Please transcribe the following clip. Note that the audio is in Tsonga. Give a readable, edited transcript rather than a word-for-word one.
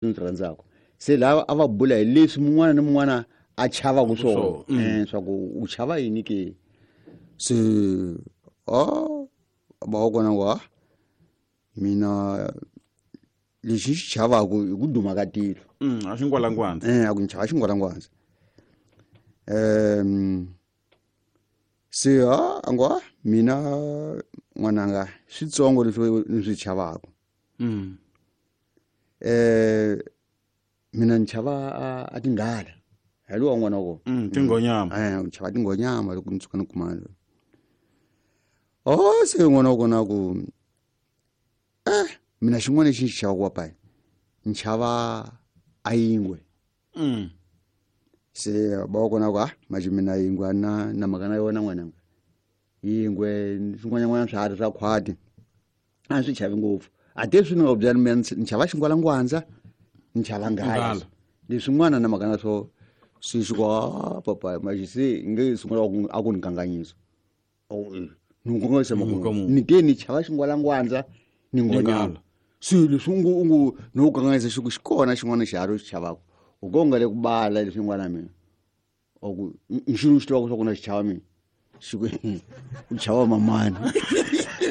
Ni swi rhandzaka se lava a va bula hi leswi mun'wana ni mun'wana a chavaka swona swa ku u chava yini ke. Se a ba wa kona wa mina lexi xi chavaku i ku duma ka tilo. A xingwalangwandza. A ku ni chava xingwalangwandza. Se a a ngo a mina n'wananga switsongo leswi ni swi chavaku. Mina ni chava a tinghala hi lowa n'wana wa kona. Tinghonyama. Ni chava tinghonyama loko ni tshuka ni kuma o se n'wana wa kona ku mina xin'wana lexi ni xi chavaka papayi ni chava a yingwe. Se ba wa kona ku a manje mina yingwe a na na mhaka na yona n'wananga, yingwe swin'wananyana swiharhi swa khwati a swi chavi ngopfu. A te swi ni nga ku byela mina ni chava xingwalangwandza, ni chava nghala, leswin'wana na mhaka na swo swi xi ku a papa manje se nge sungula a ku ni kanganyisa. Ni kanganyisa makumu ni te ni chava xingwalangwandza ni ngonyama swilo leswi u ngu ni ku kanganyisa xi ku xi kona xin'wana xiharhi u xi chavaka u ko nga le ku bala leswin'wana mina ku nxini u xi tivaka swa ku na xi chava mina xi ku u chava mamani.